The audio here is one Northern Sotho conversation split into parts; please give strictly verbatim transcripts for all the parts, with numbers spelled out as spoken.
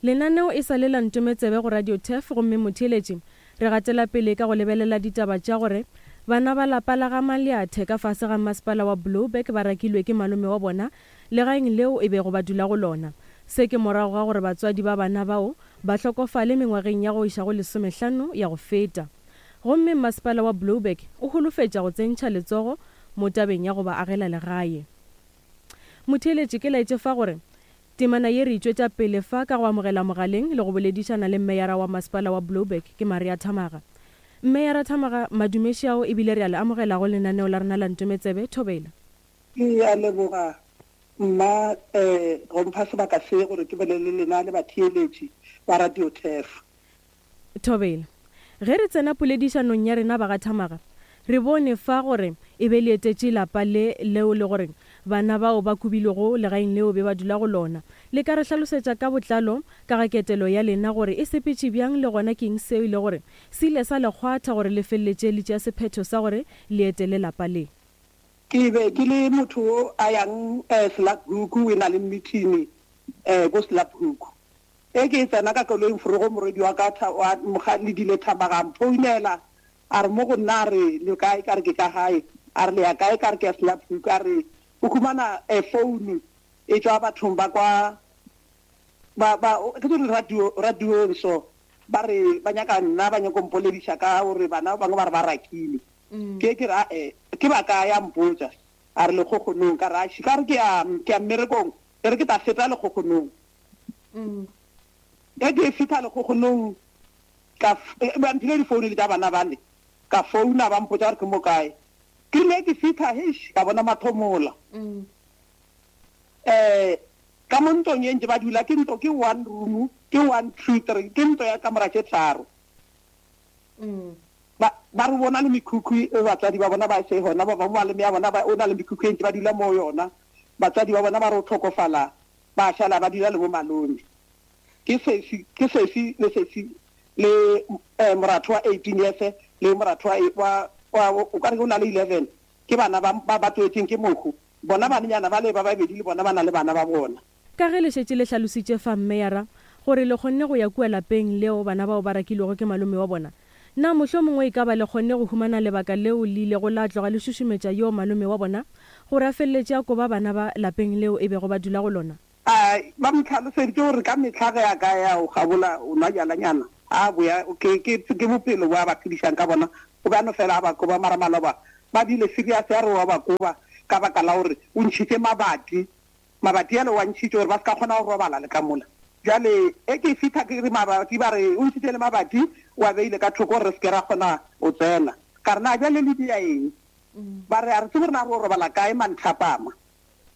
Lenaneo e sa le la Ntometsebe go Radio Turf gomme motheeletši re gatela pele ka go lebelela ditaba tša gore bana ba lapa la ga Maleathe ka fase ga masepala wa Blouberg ba rakilwe ke malome wa bona legaeng leo e bego ba dula go lona. Se ke morago ga gore batswadi ba bana bao ba hlokofale mengwageng ya go iša go lesomehlano ya go feta. Gomme masepala wa Blouberg o holofetša go tsentšha letsogo mo tabeng ya go ba agela legae. Motheeletši ke laetše fa gore temana ye re e tšwetša pele fa ka go amogela mogaleng le go boledišana le mmeyara wa masepala wa Blouberg ke Maria Thamaga. Mmeyara Thamaga, madumeši ao ebile re a le amogela go lenaneo la rena la Ntometsebe. Thobela. Ke a leboga mma um go mpha sebaka se gore ke bolele le lena le batheeletši ba Radio Turf. Thobela. Ge re tsena poledišanong ya rena ba ga Thamaga, re bone fa gore e be le etetše lapa le leo le gore bana bao ba kubilwego legaeng leo be ba dula go lona. Le ka re hlalosetša ka botlalo ka ga ketelo ya lena gore e sepetše bjang le gona ke eng seo e le gore se ile sa le kgwatha gore le feleletše le tšea sephetho sa gore le etele lapa le? Ke be ke le motho o a yang um Slaphook, o na le meeting um ko Slaphook. E ke tsena ka koloing forogo morwedi wa ka wa Ledile Thamaga a mphounela a re mo go nna a re le kae, ka re ke ka gae, a re le ya kae, ka re ke ya Slaphook, a re o humana phone e tšwa bathong ba kwa ba ba ke tsore radio radiong so ba re ba nyaka nna ba nyaka mpolediša ka gore bana ba bangwe ba re ba rakile. Ke ke ra eh ke ba ka ya mpotsa a re lekgokgonong, ka re ka re ke ya ke ya mmerekong, e re ke tla feta lekgokgonong. Ge ke fihla lekgokgonong ka ba mphile difounu le tša bana bale, ka founa ba mpotsa gore ke mo kae. Ke rile ke fihla heish ka bona mathomola. Um ka mo ntlong e ntse ba dula ke ntlo ke one room, ke one two three, ke ntlo ya kamora tše tharo. Ba ba re bona le mekhukhu e batswadi ba bona ba se gona, ba bangwe malome ya bona ba o na le mekhukhu e ntse ba dula mo yona. Batswadi ba bona ba re o tlhokofala ba šala ba dula le bo malome. Ke sesi ke sesi le sesi le eh, moratho wa eighteen years le moratho wa wa o ka re o na le eleven, ke bana ba ba ba tswetseng ke mohu. Bona banenyana ba le ba babedi le bona ba na le bana ba bona. Ka ge le šetše le hlalositše fa mmeyara gore le kgonne go ya kua lapeng leo bana bao ba rakilwego ke malome wa bona, na mohlomongwe e ka ba le kgonne go humana lebaka leo le ilego la tloga le šušumetša yo malome wa bona gore a feleletše a koba bana ba lapeng leo e bego ba dula go lona? A ba mo tlhaloseditše gore ka mehla ge a ka ya o gabola o nwa bjalanyana a boya ke ke ke bophelo bo a ba phedišang ka bona, o be a no fela a ba koba. Mara maloba ba bile serious ya re wa ba koba ka baka la gore o ntšhitše mabati, mabati ale wa ntšhitše gore ba se ka kgona go robala le ka mola. Bjale e ke fihla ke re mabati ba re o ntšhitše le mabati wa beile ka thoko gore re se ke ra kgona go tsena. Ka re na bjale le dia eng? Ba re a re tsebe gore na re o robala kae manthapama.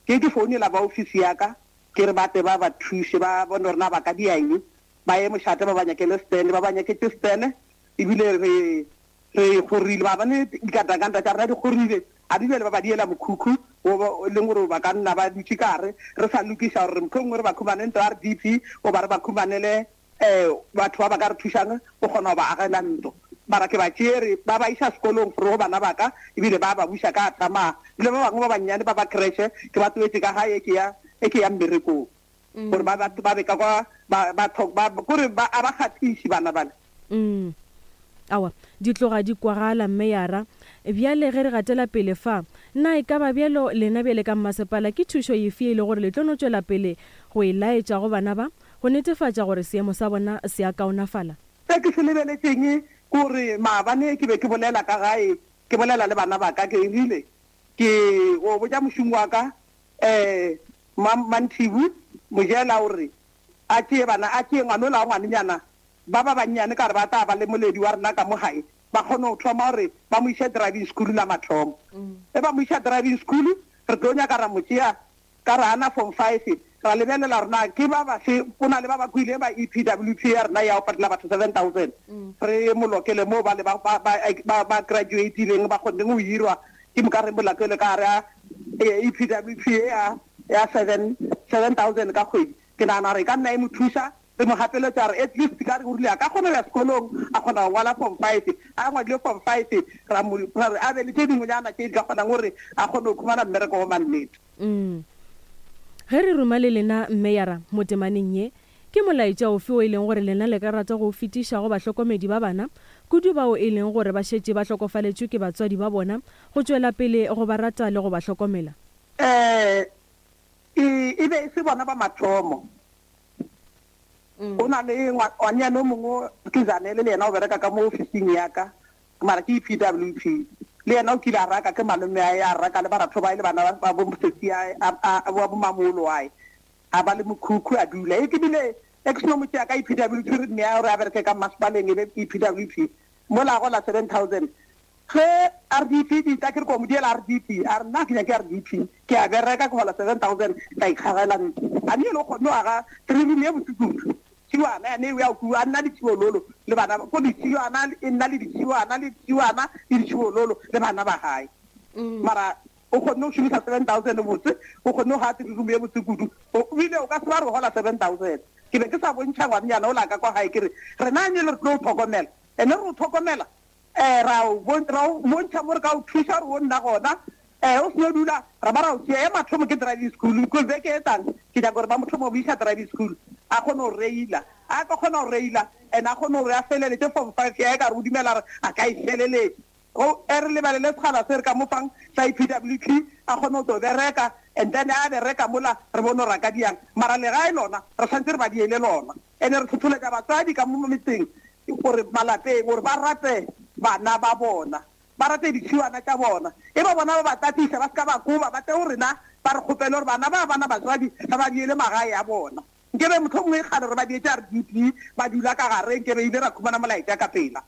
Ke ke founela ba ofisi ya ka ke re ba tle ba ba thuše ba bone gore na ba ka dia eng, ba ye mošate ba ba nyakele stand, ba ba nyaketse stand ebile re re gorile ba bane dikatakanta tša rena di gorile a di bjale ba ba diela mokhukhu o leng gore ba ka nna ba dutše ka gare re sa lokiša gore mohlomongwe re ba khumane ntlo R D P goba re ba khumanele um batho ba ba ka re thušang go kgona go ba agela ntlo. Mara ke ba tšere ba ba iša sekolong gore go bana ba ka ebile ba ba buša ka tsamaya. Ebile ba bangwe ba bannyane ba ba creche ke ba tloetše ka gae ke ya e ke ya mmerekong gore ba ba ba be ka kwa ba ba ba kore ba a ba kgathiše bana bale. Mm. Awa, di tloga di kwagala mmeyara. Bjale ge re gatela pele fa, na e ka ba bjalo lena bjale ka mmasepala ke thušo efe e le gore le tlo no tšwela pele go e laetša go bana ba go netefatša gore seemo sa bona se a kaonafala? Se ke se lebeletšeng kore maabane ke be ke bolela ka gae, ke bolela le bana ba ka, ke rile ke go botša mošomo wa ka um Manthibu Mojela gore a tšee bana, a tšee ngwanola wa ngwanenyana ba ba bannyane ka re ba tla ba le moledi wa rena ka mo gae, ba kgone go thoma gore ba mo iše driving school la mathomo. E ba mo iša driving school re tlo nyaka ra mo tšea ka re ana form five, ra lebelela gore na ke ba bafe, go na le ba ba kwile ba E P W P ya rena ya go patela batho seven thousand, re mo lokele mo ba le ba ba ba ba graduatileng ba kgonneng go hirwa, ke moka re mo lokele ka gare a E P W P ya ya seven seven thousand ka kgwedi. Ke nagana gore e ka nna e mo thuša, re mo gapeletša gore at least ka re o rile a ka kgona go ya sekolong a kgona go ngwala form five, a ngwadile form five ra mo ra re a be le tše dingwenyana tše di ka kgonang gore a kgone go khumana mmereko wa mannete. Mm. Ge re ruma le lena mmeyara mo temaneng ye, Ke molaetša ofe o e leng gore lena le ka rata go o fetiša go bahlokomedi ba bana, kudu bao e leng gore ba šetše ba hlokofaletšwe ke batswadi ba bona, go tšwela pele go ba rata le go ba hlokomela? Um e e be e se bona ba mathomo. Go na le ngwanyana o mongwe ke Zanele, le yena o bereka ka mo ofising ya ka, mara ke E P W P. Le yena o kile a raka ke malome ae, a raka le baratho ba e le bana ba bo mosesi wa bo mamolo ae, a ba le mokhukhu a dula. E ke bile e ke seno mo tšea ka E P W P, re nea gore a bereke ka masepaleng, e be E P W P mola gola seven thousand. Ge R D P di tla, ke re ko mo diela R D P, a re nna ke nyake R D P, ke a bereka, ke gola seven thousand, ka ikgagela ntlo. A ne ele o kgonne go aga three room ye botse kudu, tšhiwana yane ya ku a nna le tšhiololo le bana ko ditšhiwana, e nna le ditšhiwana le ditšhiwana le ditšhiololo le bana ba gae. Mara o kgonne go šomisa seven thousand botse, o kgonne go ga three room ye botse kudu. Ebile o ka se ba re gola seven thousand. Ke be ke sa bontšha ngwannyana o la ka kwa gae, ke re rena anye le re tlo o tlhokomela, ene re o tlhokomela um ra o bontšha mo re ka o thuša gore o nna gona um o seno dula ra ba ra o tšea. Ya mathomo ke driving school, because beke e tlang ke nyaka gore ba mothomo mo isa driving school, a kgone go reila, a ka kgona go reila and a kgone gore a feleletse form five ya e ka re o dumela re a ka e feleletše. Go e re lebelele sekgala se re ka mo fang sa E P W P, a kgone go tlo bereka, and then a bereka mola re bone gore a ka diang. Mara legae lona re tshwanetse re ba diele lona, and re tlhotlholetša batswadi ka mo metseng gore malapeng gore ba rate bana ba bona, ba rate ditšhiwana tša bona, e ba bona ba ba tatisa, ba se ka ba koba ba tle go rena ba re kgopele gore bana ba bana batswadi ba ba diele magae a bona. Nkebe motho mongwe e kgale re ba dietse R D P ba dula ka gare, nkebe ile ra khumana molaetša ka pela.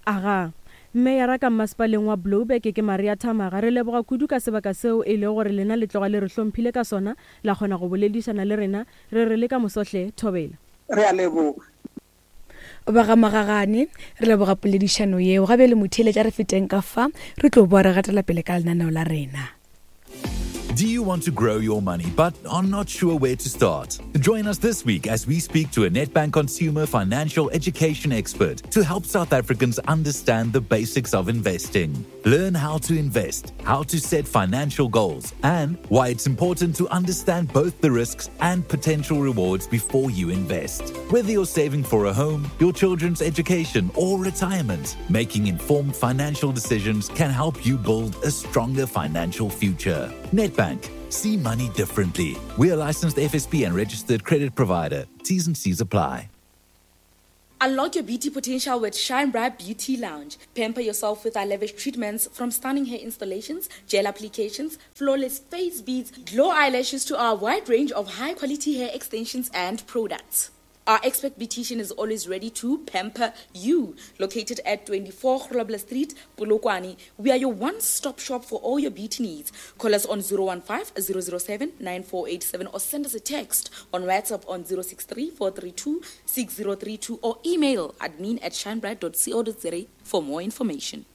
Aga, meyara ka masepaleng wa Blouberg ke Maria Thamaga. Re leboga kudu ka sebaka seo e le gore lena le tloga le re hlomphile ka sona, la kgona go boledišana le rena. Re re le ka mosohle, thobela. Re a leboga. Ba ga Magagane, re leboga poledišano yeo. Gabe le motheeletša, re feteng ka fa, re tlo boa re gatela pele ka lenaneo la rena. Do you want to grow your money but are not sure where to start? Join us this week as we speak to a Nedbank consumer financial education expert to help South Africans understand the basics of investing. Learn how to invest, how to set financial goals, and why it's important to understand both the risks and potential rewards before you invest. Whether you're saving for a home, your children's education, or retirement, making informed financial decisions can help you build a stronger financial future. Nedbank. See money differently. We are licensed F S P and registered credit provider. T's and C's apply. Unlock your beauty potential with Shine Bright Beauty Lounge. Pamper yourself with our lavish treatments, from stunning hair installations, gel applications, flawless face beads, glow eyelashes to our wide range of high quality hair extensions and products. Our expert beautician is always ready to pamper you. Located at twenty-four Grobler Street, Polokwane, we are your one-stop shop for all your beauty needs. Call us on zero one five zero zero seven nine four eight seven or send us a text on WhatsApp on zero six three four three two six zero three two or email admin at shinebright dot co dot za for more information.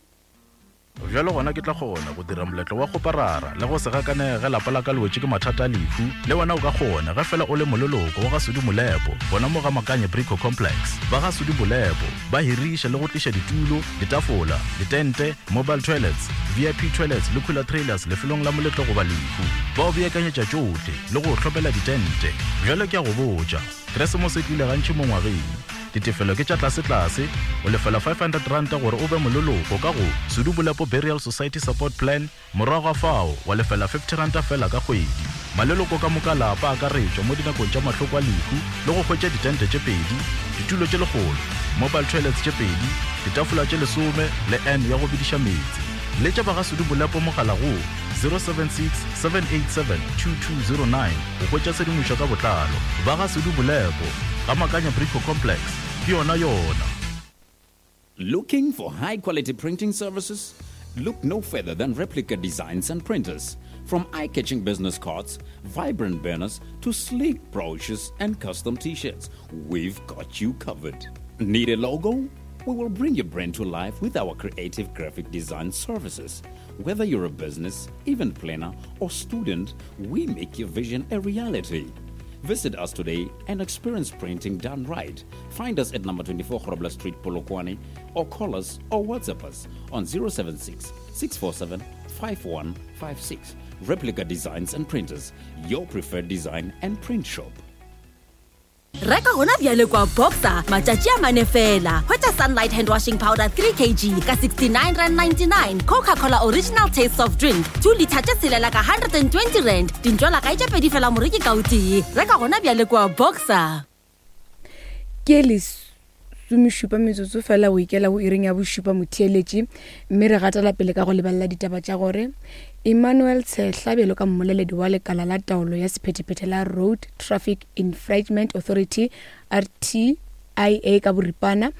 Bjalo gona ke tla kgona go dira moletlo wa go parara le go se gakanege ge lapa la ka le wetše ke mathata a lehu. Le wena o ka kgona ge fela o le moleloko wa ga Sudi Molepo gona mo ga Makanye Brico Complex. Ba ga Sudi Molepo ba hiriša le go tliša ditulo, ditafola, ditente, mobile toilets, V I P toilets le cooler trailers lefelong la moletlo goba lehu. Ba o beakanyetša tšohle le go hlopela ditente. Bjalo ke a go botša, Keresemose e tlile gantši mo ngwageng. Ditefelo ke tša tlasetlase, o lefela five hundred ranta gore o be moleloko ka go Sudu Bolepo Burial Society Support Plan, morago ga fao wa lefela fifty ranta fela ka kgwedi. Maleloko ka moka lapa akaretšwa mo dinakong tša mahloko a lehu le go hwetša ditente tše pedi, ditulo tše lekgolo, mobile toilets tše pedi, ditafola tše lesome le n ya go bediša meetse. Letša ba ga Sudu Bolepo mogala go zero seven six seven eight seven two two zero nine go hwetša tshedimošo ka botlalo. Ba ga Sudu Bolepo ga Makanya Brico Complex, ke yona yona. Looking for high quality printing services? Look no further than Replica Designs and Printers. From eye catching business cards, vibrant banners, to sleek brochures and custom t shirts, we've got you covered. Need a logo? We will bring your brand to life with our creative graphic design services. Whether you're a business, event planner, or student, we make your vision a reality. Visit us today and experience printing done right. Find us at number twenty-four Grobler Street, Polokwane, or call us or WhatsApp us on zero seven six six four seven five one five six. Replica Designs and Printers, your preferred design and print shop. Reka gona bjale kwa Boxer matšatši a mane fela. Hwetša Sunlight hand washing powder three kilograms ka sixty-nine rand ninety-nine, Coca-Cola original taste soft drink two litre tše tshelela ka hundred and twenty rand. Dintšwala kae tše pedi fela moreki ka o tee. Reka gona bjale kwa Boxer. Ke lesomešupa metsotso fela o ikela go iring ya bošupa motheeletši, mme re gatela pele ka go lebelela ditaba tša gore Emmanuel Tshehla bjalo ka mmoleledi wa lekala la taolo ya sephethephethe la Road Traffic Infringement Authority R T I A ka boripana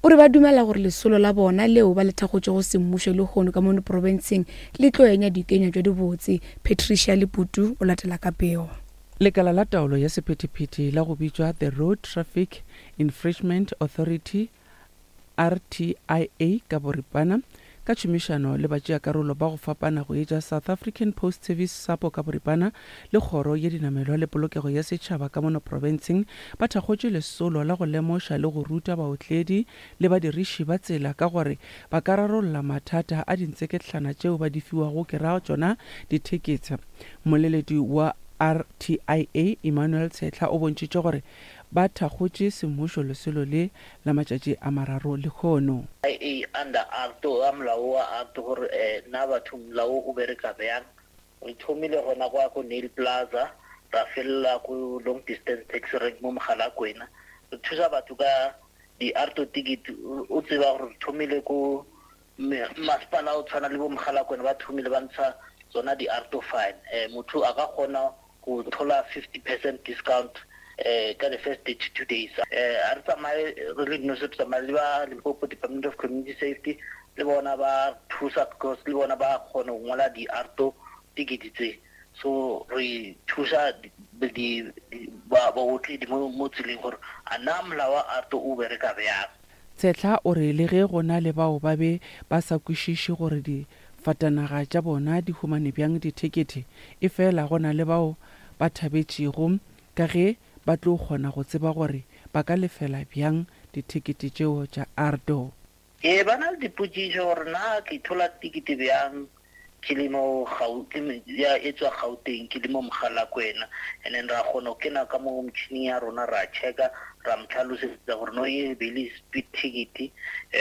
o re ba dumela gore lesolo la bona leo ba le thakgotšego semmušo lehono ka mono profenseng le tlo enya dikenya tša dibotse. Patricia Leputu o latela ka pego. Lekala la taolo ya sephethephethe la go bitšwa The Road Traffic Infringement Authority R T I A ka boripana ka tšhomišano le batšeakarolo ba go fapana go etša South African Post Service SAPO ka boripana le kgoro ye dinamelwa le polokego ya setšhaba ka mono profenseng ba thakgotše lesolo la go lemoša le go ruta baotledi le badiriši ba tsela ka gore ba ka rarolla mathata a dintseketlana tšeo ba di fiwago ke ra tšona ditheketse. Mmoleledi wa R T I A Emmanuel Tshehla o bontšhitše gore ba thakgotše semmušo lesolo le la matšatši a mararo lehono. I A under Act a molao wa Act gore na batho molao o bereka bjang. Re thomile gona kwa ko Nail Plaza, ra felela ko long distance taxi rank mo Mogalakwena. Re thusa batho ka di-auto ticket, o tseba gore re thomile ko masepala o tshwana le bo Mogalakwena ba thomile ba ntsha tsona di-auto fine. Motho a ka kgona go thola fifty percent discount eh ka the first thirty-two days. Eh a re tsamaye re le dinosi, re tsamaye le ba Limpopo Department of Community Safety le bona ba thusa because le bona ba kgona go ngola di-auto ticket tse. So re thusa di ba baotledi mo mo tseleng gore a na molao wa auto o bereka bjang. Tshehla o re le ge go na le bao ba be ba sa kwešiše gore difatanaga tša bona di humane bjang dithekete, e fela go na le bao ba thabetšego ka ge ba tlo kgona go tseba gore ba ka lefela bjang dithekete tšeo tša Ardo. Ee, ba na le dipotšišo gore na ke thola tikete bjang ke le mo ya e tswa Gauteng ke le mo Mogalakwena, and then ra kgona go kena ka mo motšhining ya rona ra checka ra mo tlhalosetsa gore no e be le speed ticket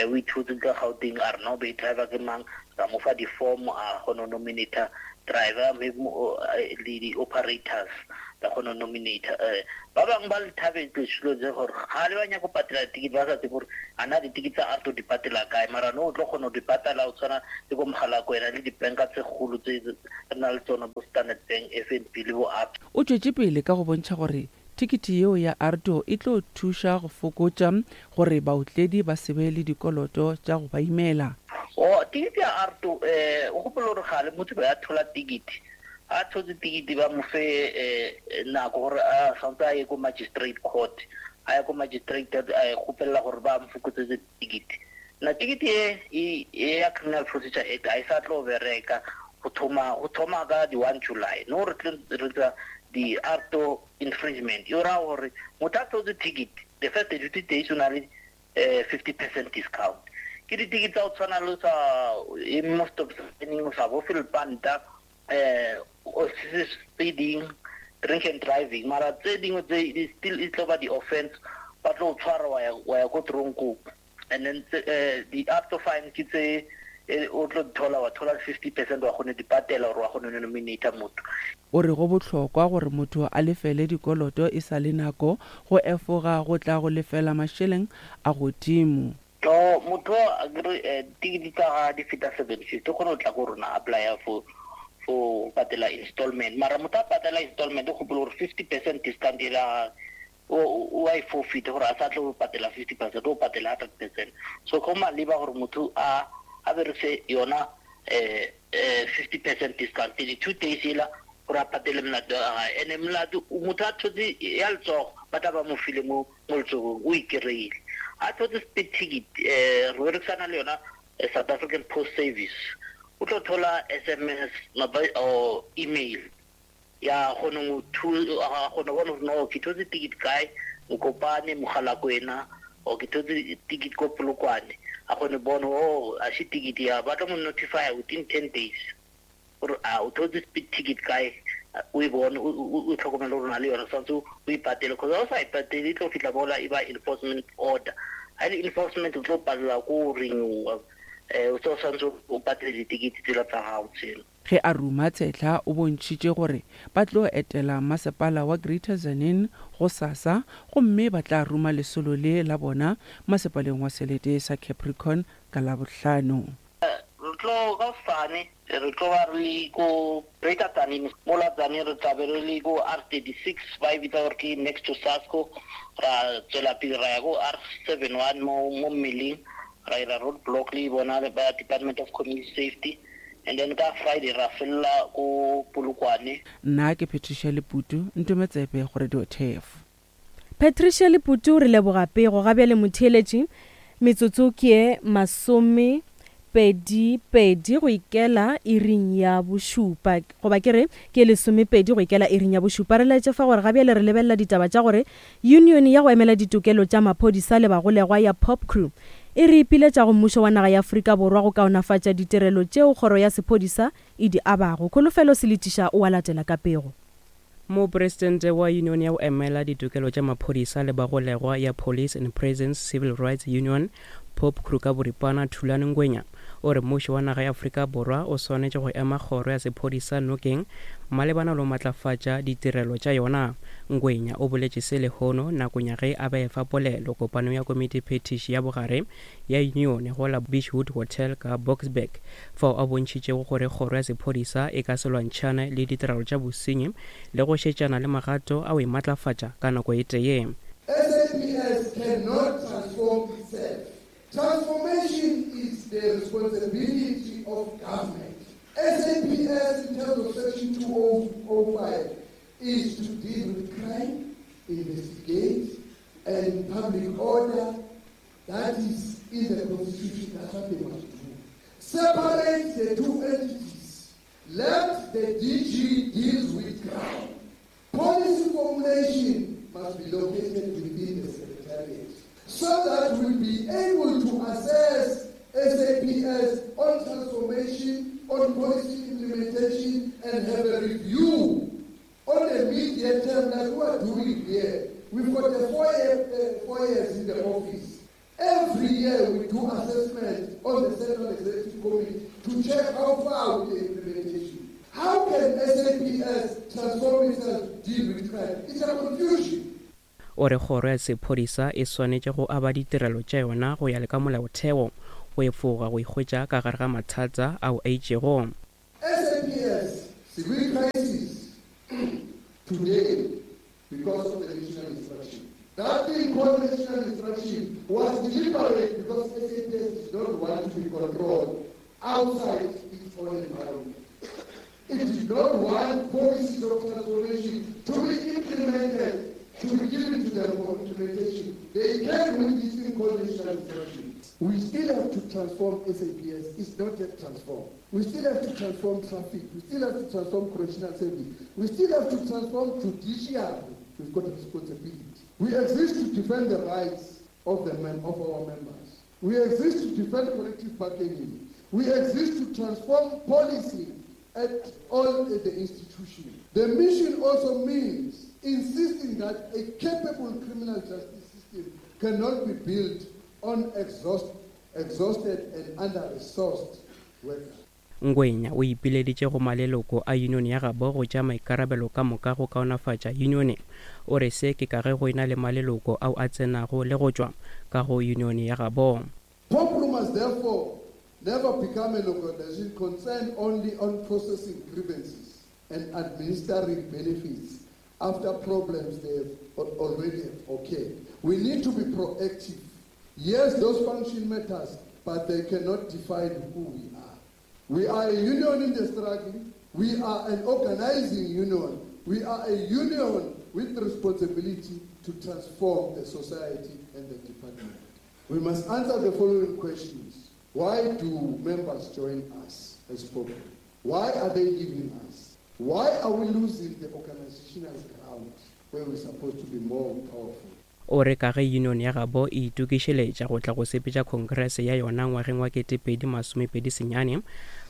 o ithotse ka Gauteng, a re no be driver ke mang, ra mo fa di-form a kgona go nominata driver le di-operators ba kgona go nominata. Ba bangwe ba le thabetse selo tse gore ga le ba nyaka go patela ticket ba sa tsebe gore a na di-ticket tsa auto di patela kae, mara no o tlo kgona go di patela o tshwana le ko Mogalakwena le dibanka tse kgolo tse re na le tsona bo Standard Bank, F N B le bo A B. O tšwetše pele ka go bontšha gore tikete yeo ya Ardo e tlo thuša go fokotša gore baotledi ba se be le dikoloto tša go ba imela. O tikete ya Ardo eh o gopola gore gale motho ba ya thola tikete, a thotse tikete ba mo fe nako gore a santse a ye ko magistrate court, a ye ko magistrate a kgopela gore ba mo fokotsetse tikete. Na tikete e e ya Criminal Procedure Act a e sa tlo bereka go thoma go thoma ka di one July. No re re tsa di auto infringement e ra gore motho a thotse ticket the first thirty days o na le fifty percent discount. Ke di-ticket tsa go tshwana le sa mo stop sign-eng, o sa bofe lepanta, eh o speeding, drink and driving, mara tse dingwe tse still e tlo ba di-offense, ba tlo tshwara wa ya wa ya ko tronkong. And then di auto fine ke tse o tlo thola wa thola fifty percent wa kgone di patela gore wa kgone nominata motho. O re go bohlokwa gore motho a lefele dikoloto e sa le nako go efoga go tla go lefela mašeleng a godimo. No motho a kere tikete tsa ga di feta seven fifty o kgone go tla ko rona apply for for patela installment, mara motho a patela installment o gopola gore fifty percent discount e la o a e forfeit gore a sa tlo patela fifty percent, o patela hundred percent. So go maleba gore motho a a berekise yona eh fifty percent discount thirty two days ela gore a patele molato wa gae. Ene molato motho a thotse ya letsogo ba tla ba mo file mo mo letsogong o ikry-ile. A thotse speed ticket eh re berekisana le yona South African Post Service, o tlo thola S M S or email ya kgone go a kgone go bona gore no ke thotse ticket kae Mokopane, Mogalakwena, or ke thotse ticket ko Polokwane, a kgone bona oh a se ticket ya ba tlo mo notify within ten days gore a o thotse speed ticket kae o e bone o tlhokomele gore o na le yona tshwanetse o e patele cause ga o sa e patele e tlo fitlha mola e ba enforcement order ga e le enforcement o tlo palela ko renewa um o tse o tshwanetse o patele ditekete tsela tsa gago tsela Ge a ruma Tshetlha o bontšhitše gore ba tlo etela masepala wa Greater Tzaneen gosasa gomme ba tla ruma lesolo le la bona masepaleng wa selete sa Capricorn ka Labohlano. Re tlo ka hosane re tlo ba re le ko Greater Tzaneen mola Tzaneen re tla be re le ko R thirty-six ba e bitsa gore ke next to Sasco ra tswela pele ra ya ko R seven one mo mo mmeleng ra ira road block le bona ba Department of Community Safety and then ka Friday ra fella ko Polokwane. Nna ke Patricia Leputu, Ntometsebe go Radio Turf. Patricia Leputu re leboga pego ga bjale motheeletši metsotso ke ye masome pedi pedi go ikela iring ya bošupa goba ke re ke lesomepedi go ikela iring ya bošupa re laetše fa gore ga bjale re lebelela ditaba tša gore union ya go emela ditokelo tša maphodisa le bagolegwa ya POPCRU e re ipiletša go mmušo wa naga ya Afrika Borwa go kaonafatša ditirelo tšeo kgoro ya sephodisa e di abago. Kholofelo Seletiša o a latela ka pego. Mopresidente wa union ya go emela ditokelo tša maphodisa le bagolegwa ya Police and Prisons Civil Rights Union POPCRU ka boripana Thulani Ngwenya o re mmušo wa naga ya Afrika Borwa o swanetše go ema kgoro ya sephodisa nokeng malebana le go matlafatša ditirelo tša yona. Ngwenya o boletše se lehono nakong ya ge a be efa polelo kopanong ya komiti phetiši ya bogare ya union go la Beachwood Hotel ka Boksburg fao a bontšhitšego gore kgoro ya sephodisa e ka se lwantšhane le ditirelo tša bosenyi le go šetšana le magato a go e matlafatša ka nako e tee. S A P S cannot transform itself. Transformation is the responsibility of government. S A P S in terms of section two oh five is to deal with crime, investigate, and public order. That is in the constitution, that's what they must do. Separate the two entities. Let the D G deal with crime. Policy formulation must be located within the secretariat so that we'll be able to assess S A P S on transformation, on policy implementation, and have a review on the medium term like we are doing here. We've got the four, year, uh, four years in the office. Every year we do assessment on the Central Executive Committee to check how far with the implementation. How can S A P S transform itself to deal with crime? It's a confusion. O re kgoro ya sephodisa e swanetše go aba ditirelo tša yona go ya le ka molaotheo go efoga go ikhwetša ka gare ga mathata ao a itšego. S A P S civil crisis today because of the national instruction. That thing called national instruction was deliberate because S A P S does not want to be controlled outside its own environment. It did not want policies of transformation to be implemented, to be given to them for implementation. They came with this thing called national instruction. We still have to transform S A P S. It's not yet transformed. We still have to transform traffic. We still have to transform correctional service. We still have to transform judiciary. We've got a responsibility. We exist to defend the rights of the men, of our members. We exist to defend collective bargaining. We exist to transform policy at all the institutions. The mission also means insisting that a capable criminal justice system cannot be built on exhaust, exhausted and under-resourced workers. Ngwenya o ipileditše go maleloko a union ya gabo go tšea maikarabelo ka moka go kaonafatša union. O re se ke ka ge go ena le maleloko ao a tsenago le go tšwa ka go union ya gabo. POPCRU must therefore never become an organization concerned only on processing grievances and administering benefits after problems they have already occurred. We need to be proactive. Yes, those function matters, but they cannot define who we are. We are a union in the struggle. We are an organizing union. We are a union with responsibility to transform the society and the department. We must answer the following questions. Why do members join us as POPCRU? Why are they leaving us? Why are we losing the organizational ground where we're supposed to be more powerful? O re ka ge union ya gabo e itokišeletša go tla go sepetša congress ya yona ngwageng wa kete pedi masomepedi senyane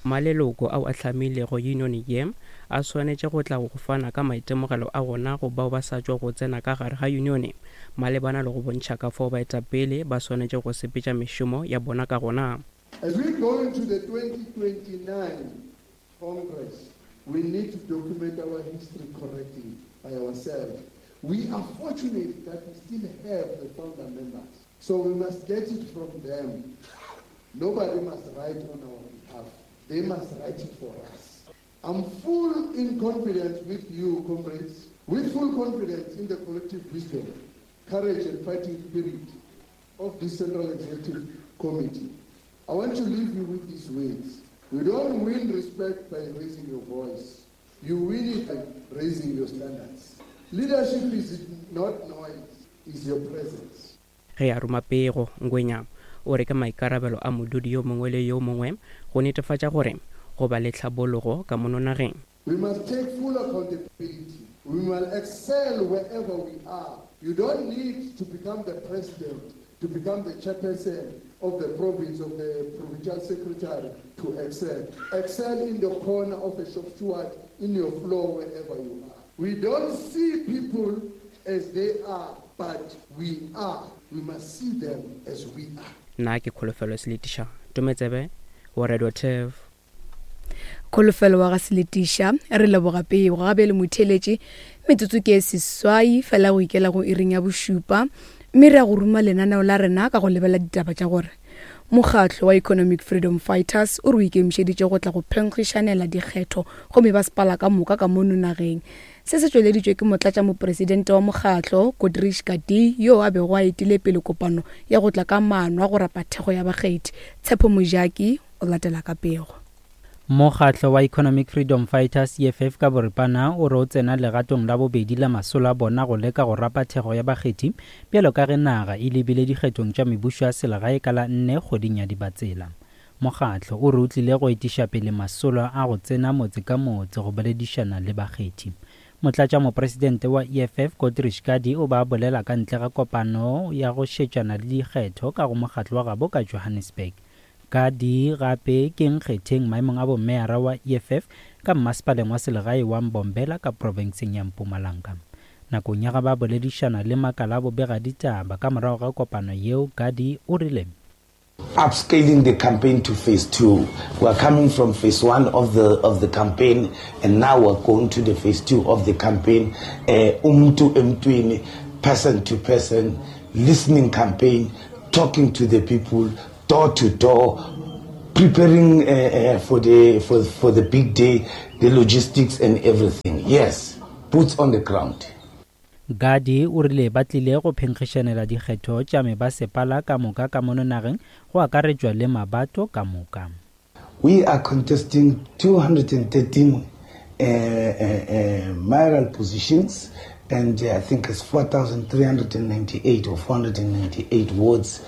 Maleloko ao a hlamilego union ye a swanetše go tla go fana ka maitemogelo a gona go bao ba sa tšwa go tsena ka gare ga union malebana le go bontšha ka fao baetapele ba swanetše go sepetša mešomo ya bona ka gona. As we go into the twenty twenty-nine Congress, we need to document our history correctly by ourselves. We are fortunate that we still have the founder members, so we must get it from them. Nobody must write on our behalf. They must write it for us. I'm full in confidence with you, comrades, with full confidence in the collective wisdom, courage and fighting spirit of this Central Executive Committee. I want to leave you with these words. You don't win respect by raising your voice. You win it by raising your standards. Leadership is not noise, is your presence. Ge a roma pego, Ngwenya o re ke maikarabelo a modudi yo mongwe le yo mongwe go netefatša gore go ba le tlhabologo ka mono nageng. We must take full accountability. We must excel wherever we are. You don't need to become the president, to become the chairperson of the province, of the provincial secretary to excel. Excel in the corner of a shop steward, in your floor, wherever you are. We don't see people as they are, but we are. We must see them as we are. Nna ke Kholofelo Seletiša, Tometsebe wa Radio Turf. Kholofelo wa ga Seletiša, re leboga pego gabe le motheletše metsotso ke seswai fela go ikela go iring ya bošupa, mme re ya go ruma lenaneo la rena ka go lebela ditaba tša gore mokgatlo wa Economic Freedom Fighters o re o ikemišeditše go tla go phenkgišanela dikgetho go mebasepala ka moka ka mono nageng. Se se tšweleditšwe ke motlatšamopresidente wa mokgatlo Kodrish Gadi yo a bego a etile pele kopano ya go tla ka maano a go rapa thekgo ya bakgethi. Tshepo Mojaki o latela ka pego. Mokgatlo wa Economic Freedom Fighters E F F ka boripana o re o tsena legatong la bobedi la masolo a bona go leka go rapa thekgo ya bakgethi bjalo ka ge naga e lebile dikgethong tša mebušo ya selegae ka la nne kgweding ya Dibatsela. Mokgatlo o re o tlile go etiša pele masolo a go tsena motse ka motse go boledišana le bakgethi. Motlatšamopresidente wa E F F Kodrish Gadi o ba bolela ka ntle ga kopano ya go šetšana le dikgetho ka go mokgatlo wa gabo ka Johannesburg. Gadi gape ke nkgetheng maemong a bomeyara wa E F F ka mmasepaleng wa selegae wa Mbombela ka profenseng ya Mpumalanga. Nakong ya ga ba boledišana le makala a bobegaditaba ka morago ga kopano yeo, Gadi o rile upscaling the campaign to phase two. We are coming from phase one of the of the campaign, and now we're going to the phase two of the campaign. Uh, umtu emtwini, person to person, listening campaign, talking to the people, door to door, preparing uh, uh, for the for for the big day, the logistics and everything. Yes, boots on the ground. Gadi o rile ba tlile go phenkgišanela dikgetho tša mebasepala ka moka ka mono nageng go akaretšwa le mabato ka moka. We are contesting two hundred thirteen uh, uh, uh, mayoral positions, and uh, I think it's four thousand three hundred ninety-eight or four hundred ninety-eight wards,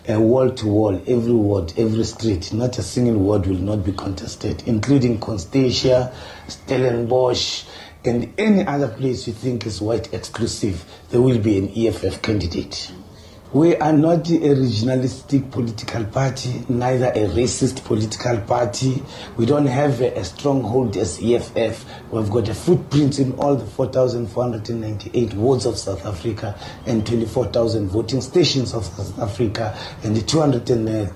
uh, wall to wall, every ward, every street. Not a single ward will not be contested, including Constantia, Stellenbosch, and any other place you think is white exclusive, there will be an E F F candidate. We are not a regionalistic political party, neither a racist political party. We don't have a, a stronghold as E F F. We've got a footprint in all the four thousand four hundred ninety-eight wards of South Africa and twenty-four thousand voting stations of South Africa and the two hundred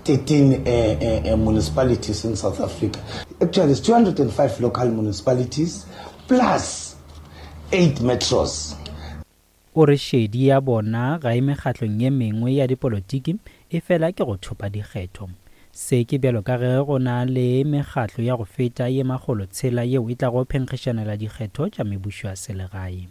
thirteen uh, uh, uh, municipalities in South Africa. Actually, it's two hundred five local municipalities plus eight metros. O re šedi ya bona ga e mekgatlong ye mengwe ya dipolotiki e fela ke go thopa dikgetho. Se ke bjalo ka ge go na le mekgatlo ya go feta ye makgolo tshela yeo e tlago phenkgišanela dikgetho tša mebušo ya selegae.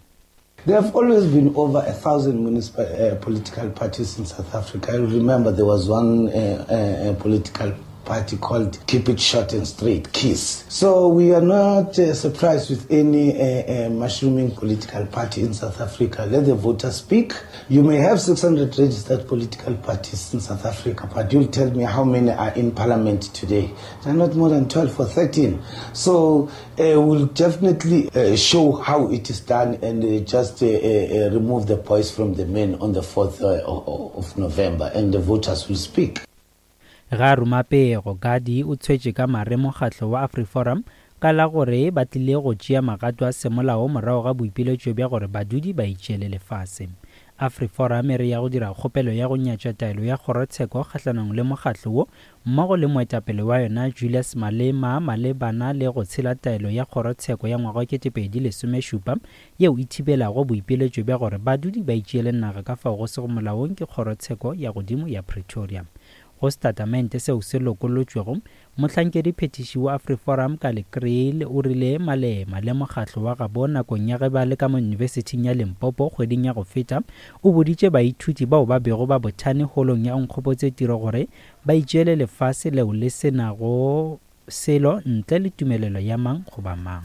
There have always been over a thousand municipal uh, political parties in South Africa. I remember there was one uh, uh, political party called Keep It Short and Straight, KISS. So we are not uh, surprised with any uh, uh, mushrooming political party in South Africa. Let the voters speak. You may have six hundred registered political parties in South Africa, but you'll tell me how many are in parliament today. There are not more than twelve or thirteen. So uh, we'll definitely uh, show how it is done and uh, just uh, uh, remove the boys from the men on the fourth uh, of November, and the voters will speak. Ga ruma pego, Gadi o tshwetše ka mare mokgatlo wa AfriForum ka la gore ba tlile go tšea magato a semolao morago ga boipiletšo bja gore badudi ba itšeele lefase. AfriForum e re ya go dira kgopelo ya go nyatša taelo ya kgorotsheko kgahlanong le mokgatlo wo mmogo le moetapele wa yona Julius Malema malebana le go tshela taelo ya kgorotsheko ya ngwaga wa ketepedi lesomešupa yeo e thibelago boipiletšo bja gore badudi ba itšeele naga ka fao go sego molaong ke kgorotsheko ya godimo ya Pretoria. Go setatamente seo se lokolotšwego, mohlankedi phethiši wa AfriForum ka Kriel o rile Malema le mokgatlo wa gabo nakong ya ge ba le ka mo Yunibesithing ya Limpopo kgweding ya go feta o boditše baithuti bao ba bego ba bothane holong ya Onkgopotse Tiro gore ba itšeele lefase leo le se nago selo ntle le tumelelo ya mang goba mang.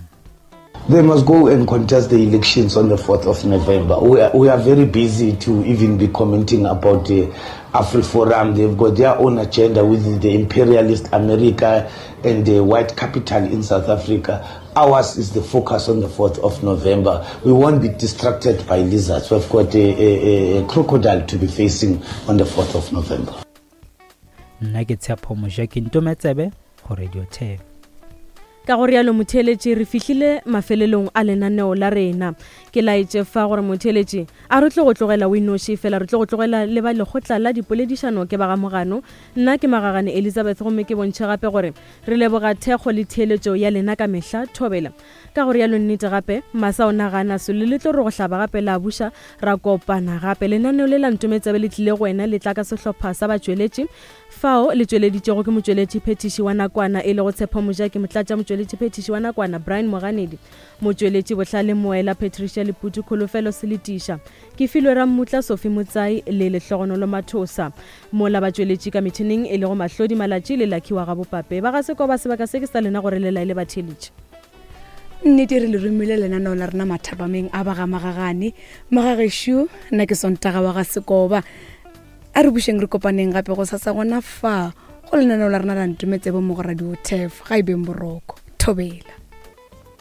They must go and contest the elections on the fourth of November. We are, we are very busy to even be commenting about the AfriForum. They've got their own agenda with the imperialist America and the white capital in South Africa. Ours is the focus on the fourth of November. We won't be distracted by lizards. We've got a, a, a crocodile to be facing on the fourth of November. Nna ke Tshepo Mojaki Ntometsebe go Radio Turf. Ka go rialo motheeletši re fihlile mafelelong a lenaneo la rena. Ke laetše fa gore motheeletši a re tle go tlogela o inoši fela, re tle go tlogela le ba lekgotla la dipoledišano ke ba ga Mogano. Nna ke Magagane Elizabeth gomme ke bontšhe gape gore re leboga thekgo le theeletšo ya lena ka mehla thobela. Ka go rialo nnete gape masa o nagana selo le tlo re go hlaba gape la buša ra kopana gape. Lenaneo le la Ntometsebe le tlile go wena le tla ka sehlopha sa batšweletši fao le tšweleditšego ke motšweletši phethiši wa nakwana e lego Tshepo Mojaki, motlatša motšweletši phethiši wa nakwana Brian Moganedi, motšweletši Bohlale Moela Patricia Leputu, Kholofelo Seletiša, ke filwe Rammutla Sophie Motsai le Lehlogonolo Mathosa, mola batšweletši ka metšhineng e lego Mahlodi Malatši le Lucky wa Gabopape. Ba ga Sekoba sebaka se ke sa lena gore le laele batheeletši. Nnete re le romile lenaneo la rena mathapameng a ba ga Magagane. Magagešo, nna ke Sontaga wa ga Sekoba. A re bušeng re kopaneng gape go sasa gona fa go lenaneo la rena la Ntometsebe mo go Radio Turf. Ga e beng boroko. Thobela.